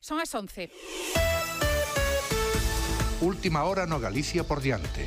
Son as 11. Última hora no Galicia por diante.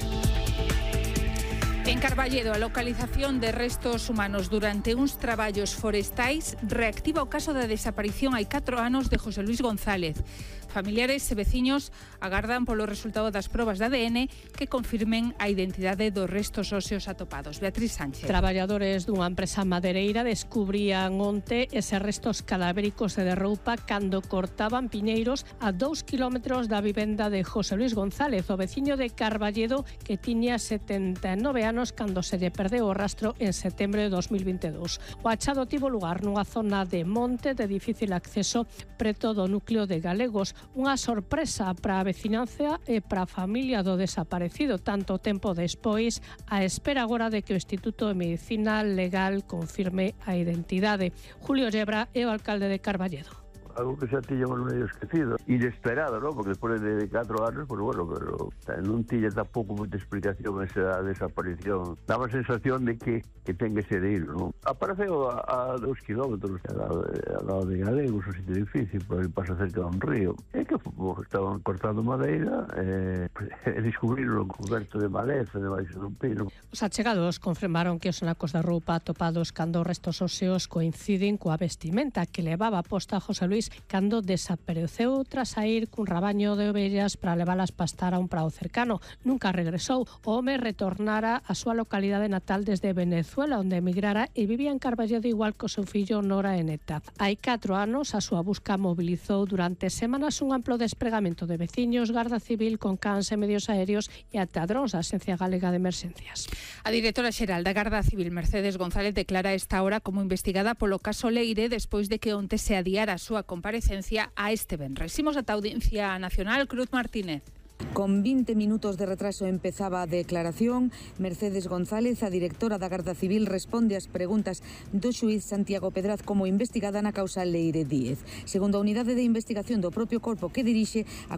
En Carballedo, a localización de restos humanos durante uns traballos forestais reactiva o caso da desaparición hai 4 anos de José Luis González. Familiares e veciños agardan polo resultado das probas de ADN que confirmen a identidade dos restos óseos atopados. Beatriz Sánchez. Traballadores dunha empresa madereira descubrían onte eses restos cadavéricos e de roupa cando cortaban piñeiros a 2 kilómetros da vivenda de José Luis González, o veciño de Carballedo que tiña 79 anos cando se lle perdeu o rastro en setembro de 2022. O achado tivo lugar nunha zona de monte de difícil acceso preto do núcleo de Galegos. Unha sorpresa para a veciñanza e para a familia do desaparecido, tanto tempo despois, a espera agora de que o Instituto de Medicina Legal confirme a identidade. Julio Yebra é o alcalde de Carballedo. Algo que xa tiñamos medio esquecido, inesperado, ¿no? Porque despois de 4 anos, pues bueno, pero non tiña tampouco moita explicación esa desaparición. Daba a sensación de que ten que ser ir, ¿no? Apareceu a 2 kilómetros ao lado de Galegos, o sitio difícil, por aí pasa cerca dun río. É que estaban cortando madeira e descubriron coberto de maleza debaixo dun pino. Os achegados confirmaron que os anacos da roupa atopados cando os restos óseos coinciden coa vestimenta que levaba posta José Luis cando desapareceu tras sair cun rabaño de ovellas para levalas pastar a un prado cercano. Nunca regresou. O home retornara á súa localidade natal desde Venezuela, onde emigrara e vivía en Carballedo igual co seu fillo Nora e Neta. Hai 4 anos a súa busca mobilizou durante semanas un amplo despregamento de veciños, Garda Civil con cans e medios aéreos e ata drons da Axencia Galega de Emerxencias. A directora xeral da Garda Civil, Mercedes González, declara esta hora como investigada polo caso Leire despois de que onte se adiara a súa comparecencia a este venres. Imos ata a Audiencia Nacional. Cruz Martínez. Con 20 minutos de retraso empezaba a declaración. Mercedes González, a directora da Garda Civil, responde ás preguntas do xuíz Santiago Pedraz como investigada na causa Leire Díez. Segundo a unidade de investigación do propio corpo que dirixe, a